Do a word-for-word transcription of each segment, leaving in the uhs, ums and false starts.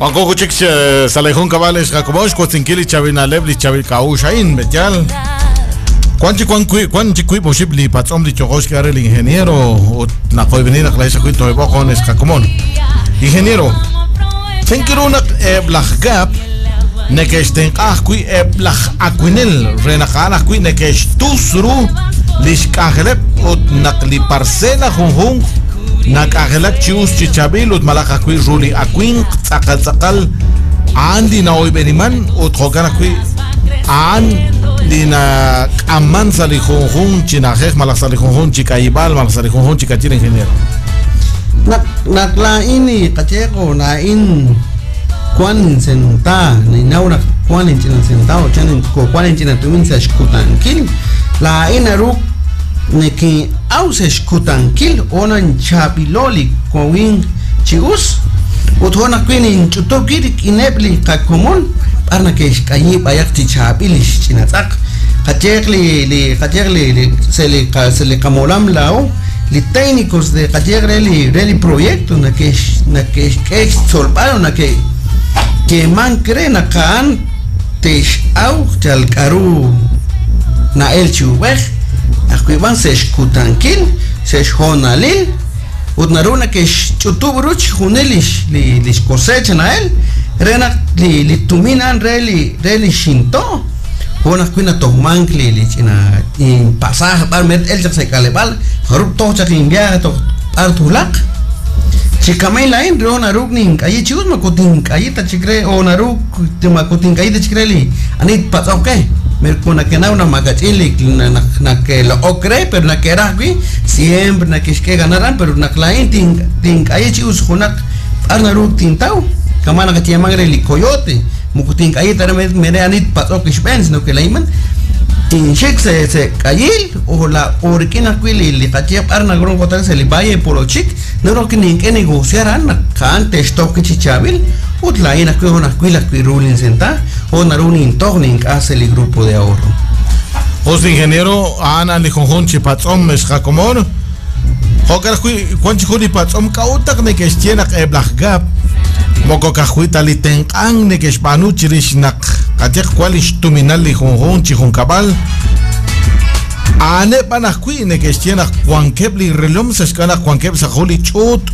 Wanko chik sa' li junkab'al xjakobox kotzinkil li chavinaleb li chavilk'a'uxain b'eyal. Kwan chi kwan kui kwan chi kui boxib li patz'om li chojox que el ingeniero ut naqoyb'eni naq la'ex ajwi' toyb'oqon xjakomon. Ingeniero, chenkiru naq eb' laj Gap neke'xtenq'a ajwi' eb' laj akwinel re naq a'an ajwi' neke'xtus ru li xk'anjeleb' ut naq li parcela junjunq nak'anjelak chi us chi chaab'il ut malaj ajwi' ru li awinq tz'aqal tz'aqal a'an li na'oyb'eniman ut jo'kan ajwi' a'an li nak'aman sa' li junjun chi na'ajej malaj sa' li junjun chi k'ayib'al malaj sa' li junjun chi kachil ingeniero. Naq naq laa'in qacheqo laa'in kwan senta ninaw naq kwan inch'ina sentao chan ko kwan inch'ina tumin sa' xkutankil laa'in naru nekin'aw sa' xkutankil onan chaab'ilo li kowin chi us ut jo' naq wi' ninch'utub' wi' rik'ineb' li qakomon b'ar nake'xk'ayi b'ayaq chi chaab'il li xch'ina tz'aq qacheq li li qacheq li li sa' li qa sa' li qamolam laa'o li técnicos de qacheq re li re li proyecto nake'x nake'xk'e xtzolb'al o nake' keman kre naq a'an te'x'aw chal k'aru na'el chi ub'ej ajwi' b'an sa' xkutankil sa' xhoonalil ut naru nake'xch'utub' ru chijunil lix li lix cosecha na'el re naq li li tumin a'an re li re li xinto' jo' naq wi' natojmank li li ch'ina pasaje b'ar mer el chaq sa' k'aleb'aal jarub' toj chaq inviaje toj b'ar tulaq chikamay laa'in re naru nink'ayi chi us moko tink'ayita chik re o naru moko tink'ayita chik re li ani tpatz'oq ke mer ko nakenaw naq makach'in li naq nake'loq'ok re pero nake'raj wi' siempre nake'xk'e ganar an pero naq laa'in tin tink'ayi chi us junaq b'ar naru tintaw kama naqayeeman re li coyote moko tink'ayita re mere ani tpatz'oq ixb'een sino que laa'in man tinxik sa' sa' k'ayil o la o rik'in ajwi' li li qaye b'ar nagron kotal sa' li valle Polochic naru nink'e negociar a'an naq a'an te'xtoj chi chaab'il ut laa'in ajwi' jo' ajwi' ajwi' ru linsenta o naru nintoj nink'aj sa' li grupo de ahorro. José ingeniero a'an li junjun chi patz'om xjakomon jo'kan ajwi' wan chi jun li patz'om k'a'ut naq neke'xye naq eb' laj Gap moko kajwi' ta li tenq'an neke'xb'aanu chirix naq qayeq wan li xtuminal li junjun chi junkab'al a'aneb' b'an ajwi' neke'xye naq wankeb' li relom sa' xk'ab'a' naq wankeb' sa' jun li ch'uut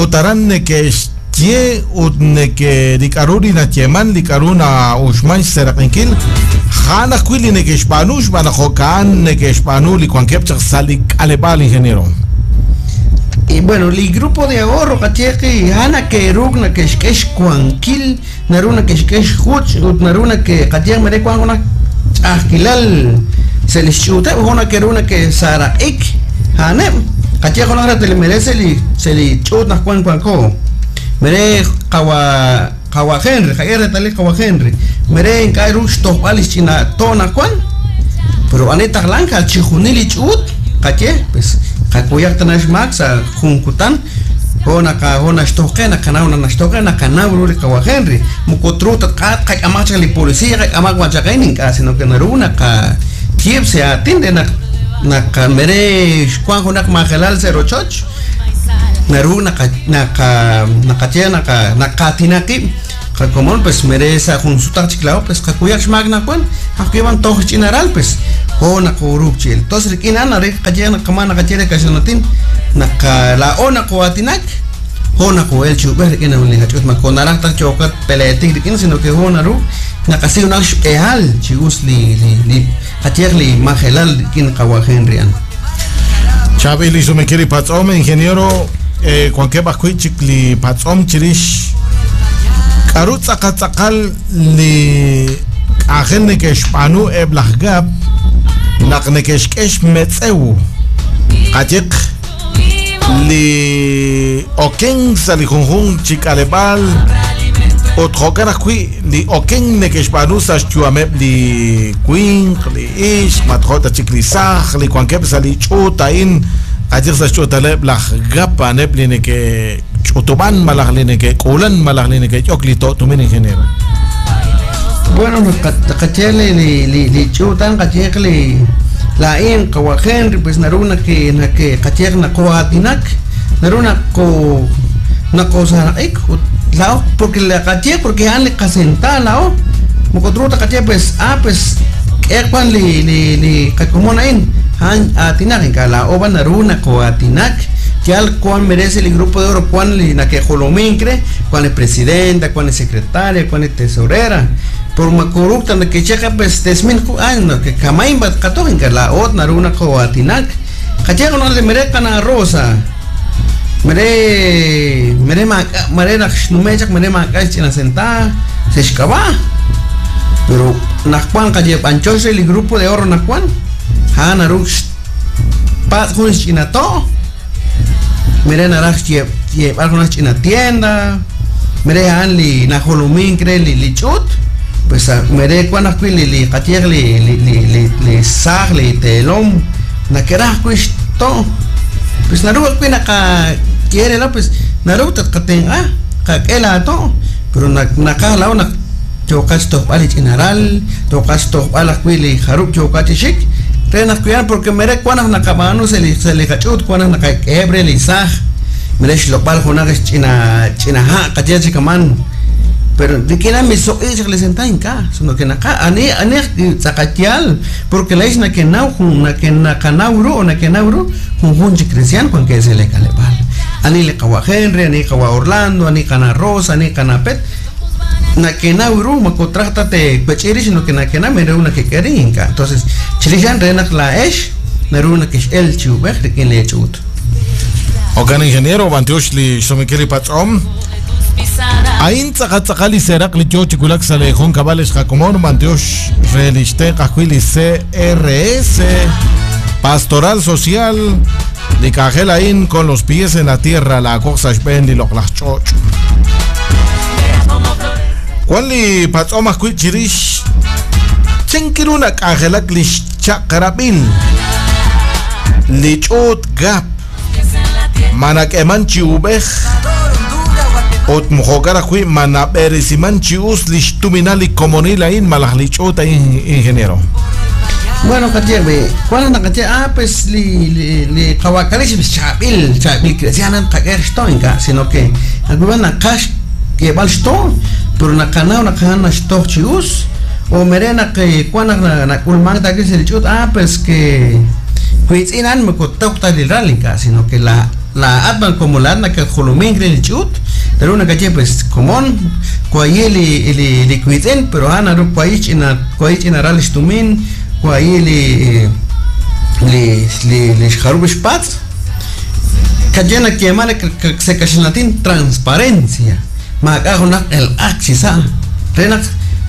ut aran neke'xye ut neke li k'aru li nayeeman li k'aru na'uxman xseraq'inkil ja'an ajwi' li neke'xb'aanu xb'aan naq jo'kan neke'xb'aanu li wankeb' chaq sa' li k'aleb'aal ingeniero. Y bueno, li grupo de ahorro qacheqi a'an nake'ruk nake'xk'e xwankil naru nake'xk'e xjuch ut naru nake qayeq mere wan junaq ch'a'ajkilal sa' li xch'uuteb' jo' nake'ru nake'saraq'ik a'aneb' qayeq junaq ratel mere sa' li sa' li ch'uut naq wan wanko mere qawa qawa Henry qaye retalil qawa Henry mere ink'a' ru xtojb'al li xch'ina to' naq wan pero ani taqlank al chijunil li ch'uut qaye pues qakuyaq tana xmaak sa' junkutan jo' naqa jo' naxtojqe naqanaw naq naxtojqe naqanaw ru li qawa Henry moko tru tatq'at qak'amaq chaq li policía qak'amaq wan chaq ink'a' sino que naru naqa kiib' sa' aatin re naq naq mere xwan junaq majelal sa' rochoch naru naqa naqa naqaye naqa naqaatinaqib' qakomon pues mere sa' jun sutaq chik la'o pues qakuyaq xmaak naq wan ajwi' b'an toj ch'inaral pues jo' naquruk chil entonces rik'in a'an are qaye naqama naqaye re kaxlanatin naqa la'o naqo'aatinak jo' naqo'el chi ub'ej rik'in li qach'uut mako naraj taj choqat peleetik rik'in sino que jo' naru naqasi junaq xb'ehal chi us li li li qayeq li majelal rik'in qawa Henry an. Chaab'il li sumenkil li patz'om ingeniero eh, wankeb' ajwi' chik li patz'om chirix k'aru tz'aqal tz'aqal li k'anjel neke'xb'aanu eb' laj Gap naq neke'xk'e xmetz'ew qayeq li oken sa' li junjun chi k'aleb'aal ut jo'kan ajwi' li oken neke'xb'aanu sa' xyu'ameb' li winq li ixq matjo' ta chik li saaj li wankeb' sa' li ch'uut a'in qayeq sa' xch'uutaleb' laj Gap a'aneb' li neke'ch'utub'an malaj li neke'k'uulan malaj li neke'yok li to' tumin ingeniero. Bueno, qache li li li li ch'uutan qayeq li laa'in qawa Henry pues naru nake nake qayeq naqo'aatinak naru naqo naqosaraq'ik ut La porque la caché porque han le casenta la o mokotruta caché pues ah pues que cuan li li li kakumona in han atinak en la oba naruna ko atinak yal cuan merece el grupo de oro cuan li na que jolomincre cuan el presidenta cuan el secretaria cuan el tesorera por ma corrupta na que checa pues desmin ah no que kamain bat katohin ka la ot naruna ko atinak caché no le merezcan a Rosa mere mere ma mere nak numechak mere ma kach sentada se escaba pero nakwan kaye panchose el grupo de oro nakwan han arux pat jun chinato mere naraj ye ye alguna china tienda mere han li najolumin cre li lichut pues mere kwan akwi li li katier li li li li sag li telom nakeraj to pues naru akwi naka quiere la pues naru tatkaten ah kakela to pero naka la una chokas tohbal chinaral tokas tohbal akwi li harup chokachishik renas cuidan porque mere cuanas nakabanu se le se le cachut cuanas nakakebre li saj mere shlopal junag china china ha kacheche kaman pero de que era mi so es le sentain ka sino que naka ani ani tzakatial porque la isna que nau na que nakanauro na que nauro jun cristian con que se le calebal ani le kawa Henry ani kawa Orlando ani kana Rosa ani kana Pet na que nauro makotrata te pechiri sino que na que na mere una que querinka entonces chilichan renak la esh naruna que el chuber de quien le chut ogan ingeniero bantiosh li somikiri patrom Ain tzakatzakali serak li yo chikulak sale jun kabales jakomon bantiosh reliste kajuili C R S Pastoral Social li kajel ain con los pies en la tierra la cosa shben li loklach choch Juan li patzoma chirish chinkiruna kajelak li chakrabil li chot gap manak eman chiubej ot mojokara hui manaberisiman chius lishtuminali komonila in malaj lichota in ingeniero. Bueno, kache, ¿cuál es la kache? Ah, pues li li li kawakalish pues chabil, chabil cristiana kaker shtoinka, sino que alguna kash que val shto, pero na kana na kana shto chius o merena que cuando na na kulman ta que se lichut, ah, pues que huitzinan me kotokta li ralinka, sino que la la atman como la atma que jolomin lichut, pero una calle pues común cuayeli li li cuitzen, pero ana ru cuayich ina cuayich ina ralish tumin cuayeli li li li xarubish pats cayena que mala que se cachinatín transparencia ma una el axisa renak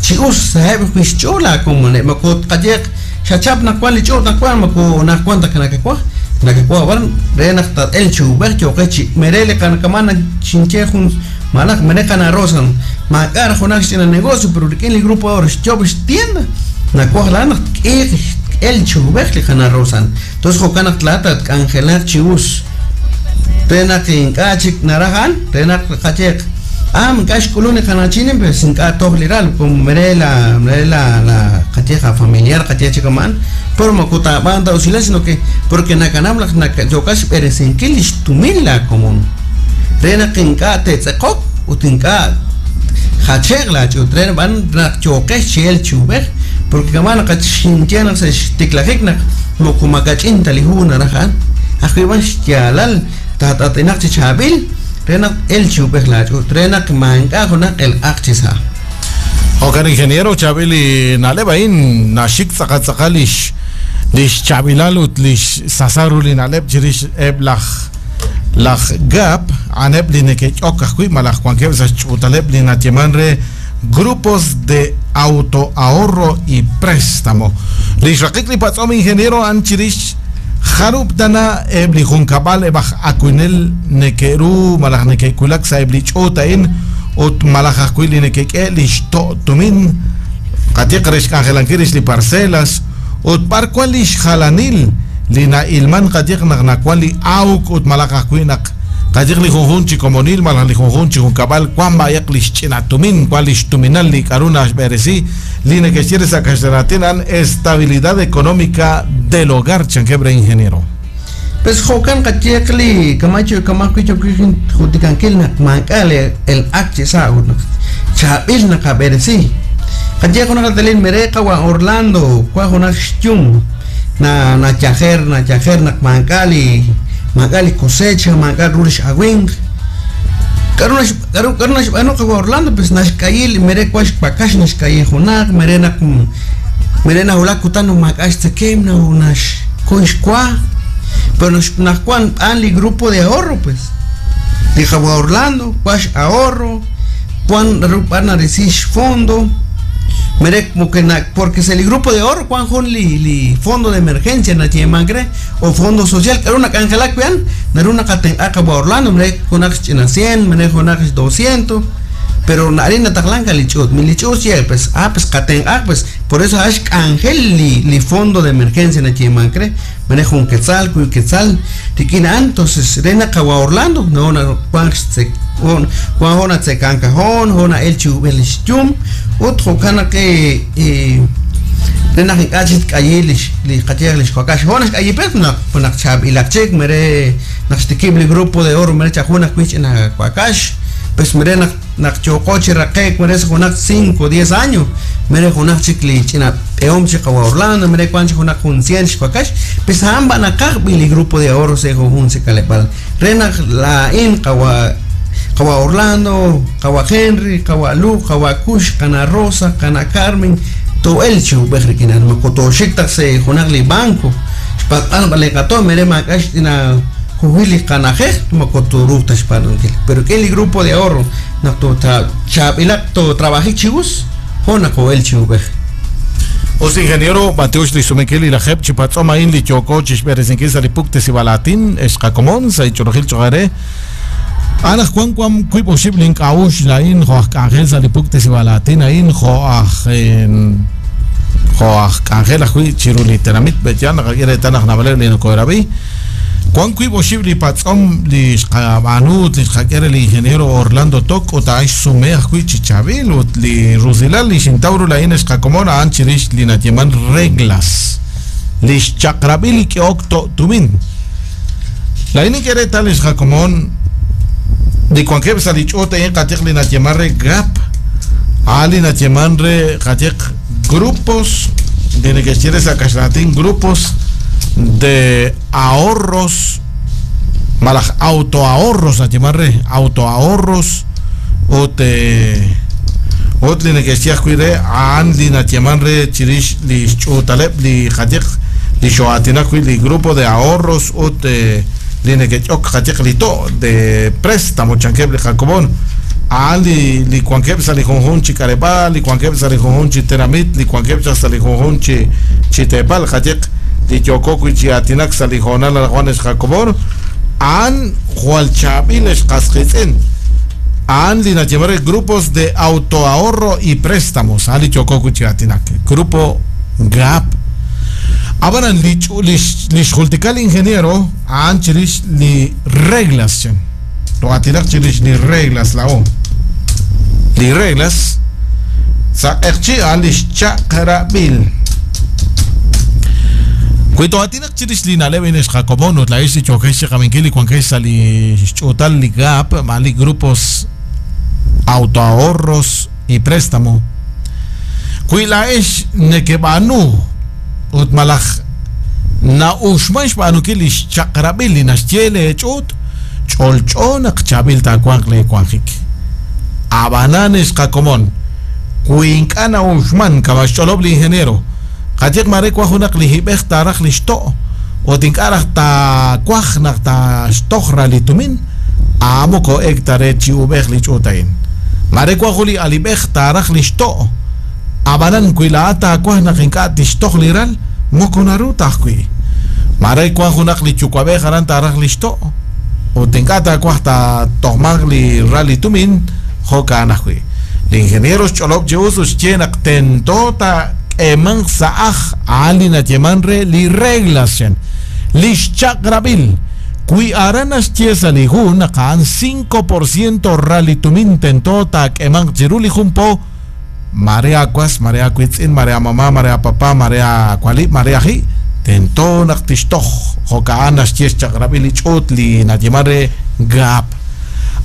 chius sabe chola como ne makot cayek chachap na cual lichut na cual mako na cuanta kana que cua na que cua van renak ta el chuber choquechi merele kan kamana chinche jun malak menekan rosan makar jonak en el negocio pero que el grupo ahora chobes tienda na cual la el chuber le kana rosan entonces jokana tlata angelar chius renak inkachik narajan renak kachek am kash kulune kanachinen pues inka togliral como merela merela la kacheja familiar kachecha kaman por makuta banda o sino que porque nakanam la yokash peresenkilish tumila común renak inka tetzekok utinka hachegla chutren van chokesh chel chuber porque kaman kachintiana se tiklajikna mokumakachinta lihuna rajan ajiban xtialal tatatinaq chichabil renak el chuber la chutrenak manka jonak el akchisa. Okan ingeniero chabili nalebain nashik tzakatzakalish lish chabilalut lish sasaruli naleb chirish eblaj laj gap aneb li nekechok ajui malaj cuanqueb sa chutaleb li natiemanre grupos de autoahorro y préstamo lish rakik li patzom ingeniero anchirish Harup dana ebli junkabal ebaj akuinel nekeru malaj nekekulak sa ebli chotain ut malaj akuili nekeke lishto tumin katiq resh kanjelankirish li parcelas ut parkual lish jalanil lina ilman katiq nagnakual li auk ut malaj akuinak katiq li junjunchi komonil malaj li junjunchi junkabal kuan bayak lish chinatumin kuan lish tuminal li karuna ashberesi li nekechire sa estabilidad económica del hogar chanquebre ingeniero. Pues jokan qatiekli kamacho kamakuicho kuijin jutikankel nak mankale el h sa chabil nakabersi qatiek una katalin mereka wa Orlando kwa jona xtyum na na chajer na chajer nak mankali mankali cosecha mankal rulish awing karunash karu karunash ano ka Orlando pues nashkayil mere kwash pakash nashkayil jonak mere nak mere na hulakutano makash tsekem na unash kuishkwa. Pero nos nacuan ali grupo de ahorro pues. Dije Orlando, cuash ahorro, cuan rupana recish fondo. Mere como que na, porque es el grupo de ahorro cuan jon li, li fondo de emergencia na chiemangre o fondo social, que era una canjela cuan, naruna katen acaba Orlando, mere jonak china cien, mere jonak doscientos. Pero narina taklanka lichut, mi lichut sí, pues ah pues katen ah pues por eso hash angel li, li fondo de emergencia na chiemangre. Manejo un quetzal, cuy quetzal, tiquina entonces rena kawa Orlando, no na juan se juan hona se cancajón, hona el chu el chum, otro cana que eh rena kachit kayelish, li kachelish kakash, hona kayi pes na na chab ilakchek mere naxtikibli grupo de oro mere chajuna kuich na kwakash, pues mere na na chocoche raquek mere jona cinco, diez años, mere jona chikli china eom chica Orlando, mere cuancho jona con cien kwakash, pues amba na kak bili grupo de ahorro se jun se kalepal rena la in kawa kawa Orlando, kawa Henry, kawa Lu, kawa Kush, kana Rosa, kana Carmen, to el chu bejrikinan makoto shikta se jonagli banco, pat vale kato mere makash tina juhili kanaje makoto ruta shparantil, pero que el grupo de ahorro na to tra chapilak to trabaje chibus jona ko el chu bej. Os ingeniero Mateusz Lisumekeli la jep chipatzoma in li choko chishberezinkis alipukte sibalatin escakomon sa ichorojil chogare ana Juan Juan kuipo shiblink aush la in jo angel salipukte sibalatin ain jo jo angel ahui chiruli tenamit beyan gire tanaj nabale li korabi Juan kuipo shibli patzom li xqabanut li xqakere li ingeniero Orlando Tok o ta sume ahui chichabil ut li rusilal li shintauru la in xqakomona an chirish li natieman reglas li xchaqrabil ki okto tumin la in kere tal xqakomon di cuanque salichote en qatiq li natieman re gap ali natieman re qatiq grupos de que quieres a kashlatin grupos de ahorros malaj autoahorros natieman autoahorros o te otli ne que cuide an li natieman re chirish li chutalep li qatiq li shoatina li grupo de ahorros o te li ne que ok qatiq li to de préstamo chanqueble jacobón ali li cuanqueb sali jonjun chicarepa li cuanqueb sali jonjun chiteramit li cuanqueb sali jonjun chi chitepal qatiq li yococo y chiatinak sali jonal al Juanes Jacobón an hualchabiles casquitzen an li natieman grupos de autoahorro y préstamos ali yococo y chiatinak grupo G A P Abanan li li xultikal ingeniero an chirish li reglas lo atinak chirish li reglas la o li reglas sa erchi an li chaqrabil Cuito atinak chirish li naleb ines jacobón la isi chokesh kaminkili cuanquesa li chutal li G A P mali grupos autoahorros y préstamo Cuila es nekebanu ut malaj na ushmash banukili chaqrabil naxyele chut cholchon chabil tacuancle cuanjik abananes jacomón cuincana ushman cabacholoble ingeniero qatiq mare cuajunak lijibej taraj lishto o tinkaraj ta cuajnak ta shtojra litumin amoko hectare chiubej lichutain mare cuajuli alibej taraj lishto abanan cuilata cuajnak inka tishtoj liral mokonaru tajkui mare cuajunak lichucuabej aran taraj lishto o tinkata cuajta tojmagli ralitumin jokanajui Ingenieros cholop jehusus chenak tentota eman saaj alina yemanre li reglas chen lishchakrabil kui aranas chiesa li hun akan cinco por ciento ralitumin tentota eman chiruli jumpo marea cuas marea cuitzin marea mamá marea papá marea cuali marea ji Tento naq tixtoj jo'ka'an naxye xchaq'rab'il li ch'uut li nayeman re GAP.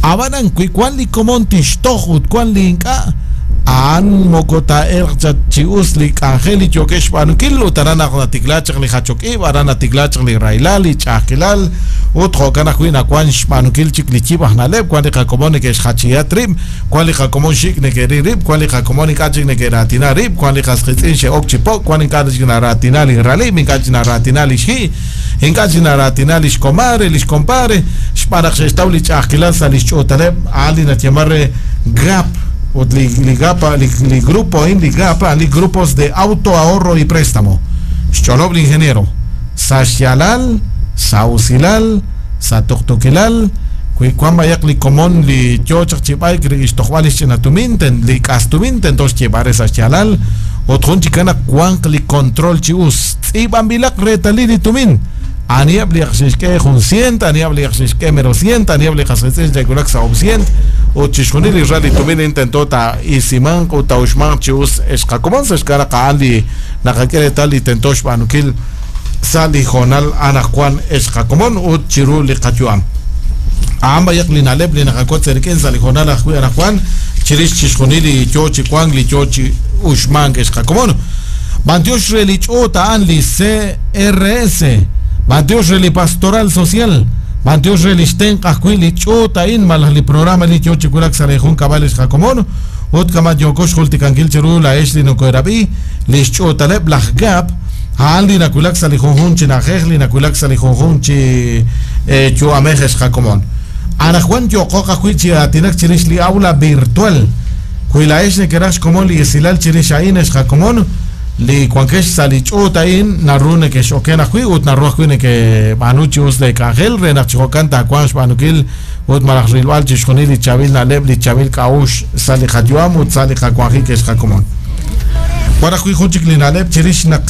Ab'anan wi wan li komon tixtoj ut wan li ink'a' a'an moko taa'elq chi us li k'anjel li yookeb' xb'aanunkil ut aran naq natiklaa chaq li jachok ib', aran natiklaa chaq li rahilal, li ch'a'ajkilal ut jo'kan ajwi' nawan xb'aanunkil chik li yib' aj na'leb', wan li qakomon neke'xjachiyat rib', wan li qakomon xik neke'ril rib', wan li qakomon ink'a' chik neke'raatina rib', wan li qasqitz'in xe'ok chi pok', wan ink'a' chik naraatina li ralib', ink'a' chik naraatina li xji', ink'a' chik naraatina li xkomare, li xkompare, xb'aan naq xe'xtaw li ch'a'ajkilal sa' li xch'uutaleb' a'an li nayeman re GAP. Ut li, li GAP, li, li grupo in li GAP, li grupos de auto ahorro y préstamo. Xcholob li ingeniero. Sa xyalal, sa usilal, sa tuqtuqilal, wi wan bayaq li komon li yo chaq chi b'ayk ri ixtojb'al ixch'inatumin, ten li k'astumin, tento xyeb'are sa xyalal, ut jun chik naq wanq li control chi us. Tz'iib'anb'ilaq reetalil li tumin. Aniab li xixk'e jun cient, aniab li xixk'e mero cient, aniab li xasetz'il xekulak sa ob cient, ut chixjunil li ral li tumin intento ta isimanq ut tauxmanq chi us exqakomon sa xkara qa'an li naqak'e reetal li tento xb'aanunkil sa li jonal anaqwan exqakomon ut chiru li qayu'am. A'an bayaq li na'leb' li naqak'ot sa rik'in sa li jonal ajwi' anaqwan chirix chixjunil li yo chi wank li yo chi uxmank exqakomon. Bantiox re li ch'uut a'an li C R S, Bantiox re li Pastoral Social, Bantiox re li xtenq ajwi' li ch'uut a'in malaj li programa li yo chi wulak sa' li jun kab'al xqakomon ut kama yoko xjultikankil chiru la'ex li nokoerab'i li xch'uutaleb' laj GAP a'an li nakulak sa' li junjun chi na'ajej li nakulak sa' li junjun chi yu'amej xqakomon. Anaqwan yoqoq ajwi' chi aatinak chirix li aula virtual. Wi la'ex nekeraj xkomon li esilal chirix a'in xqakomon li wankex sa' li ch'uut a'in naru neke'xoken ajwi' ut naru ajwi' neke'b'aanu chi us li k'anjel re naq chi jo'kan taawanq xb'aanunkil ut malaj rilb'al chixjunil li chaab'il na'leb' li chaab'il k'a'uxl sa' li qayu'am ut sa' li qawanjik xqakomon. Wan ajwi' jun chik li na'leb' chirix naq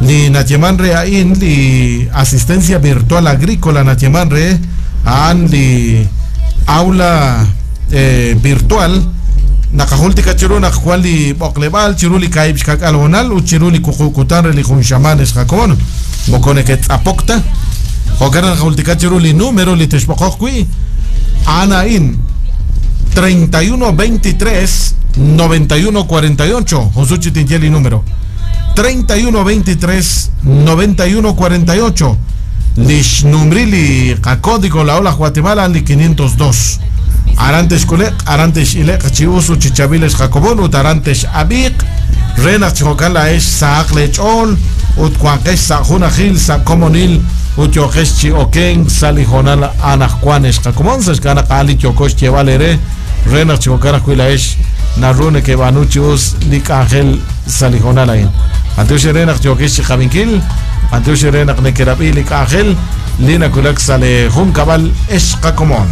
li nayeman re a'in li asistencia virtual agrícola nayeman re a'an li aula eh, virtual naqajultika chiru naq wan li b'oqleb'al chiru li kaib' xkak'al honal ut chiru li kuqukutan re li jun xamaan xqakomon moko neke'tz'apokta jo'kan naqajultika chiru li número li texb'oqoq wi' a'an a'in treinta y uno veintitrés noventa y uno cuarenta y ocho. Junsuchi tinye li número treinta y uno veintitrés noventa y uno cuarenta y ocho. Lix numri li qacódigo la ola Guatemala li quinientos dos. Arantes kuleq, arantes ileq, chiusu, chichabiles jacobón, ut arantes abiq, renas chocala es saaq lechol, ut cuanques sa junajil, sa comonil, ut yoques chioken, salijonal anajuanes jacobón, sescana cali, chocos chevalere, renas chocana cuila es, narrune que banuchius, lik ángel, salijonal ain. Antes renas choques chijabinkil, antes renas nekerabi, lik ángel, lina kulak sale juncabal es jacomón.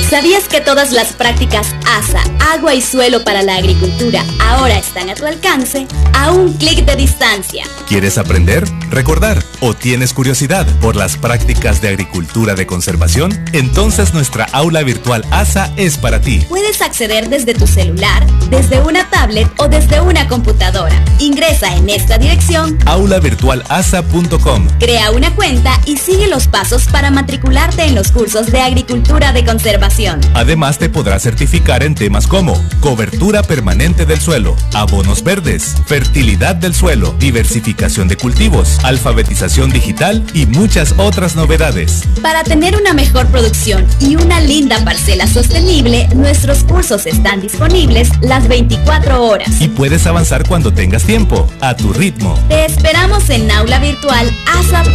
¿Sabías que todas las prácticas A S A, agua y suelo para la agricultura ahora están a tu alcance? A un clic de distancia. ¿Quieres aprender, recordar o tienes curiosidad por las prácticas de agricultura de conservación? Entonces nuestra aula virtual A S A es para ti. Puedes acceder desde tu celular, desde una tablet o desde una computadora. Ingresa en esta dirección: aula virtual a s a punto com. Crea una cuenta y sigue los pasos para matricularte en los cursos de agricultura de conservación. Además, te podrás certificar en temas como cobertura permanente del suelo, abonos verdes, fertilidad del suelo, diversificación de cultivos, alfabetización digital y muchas otras novedades. Para tener una mejor producción y una linda parcela sostenible, nuestros cursos están disponibles las veinticuatro horas. Y puedes avanzar cuando tengas tiempo, a tu ritmo. Te esperamos en aula virtual a s a punto com.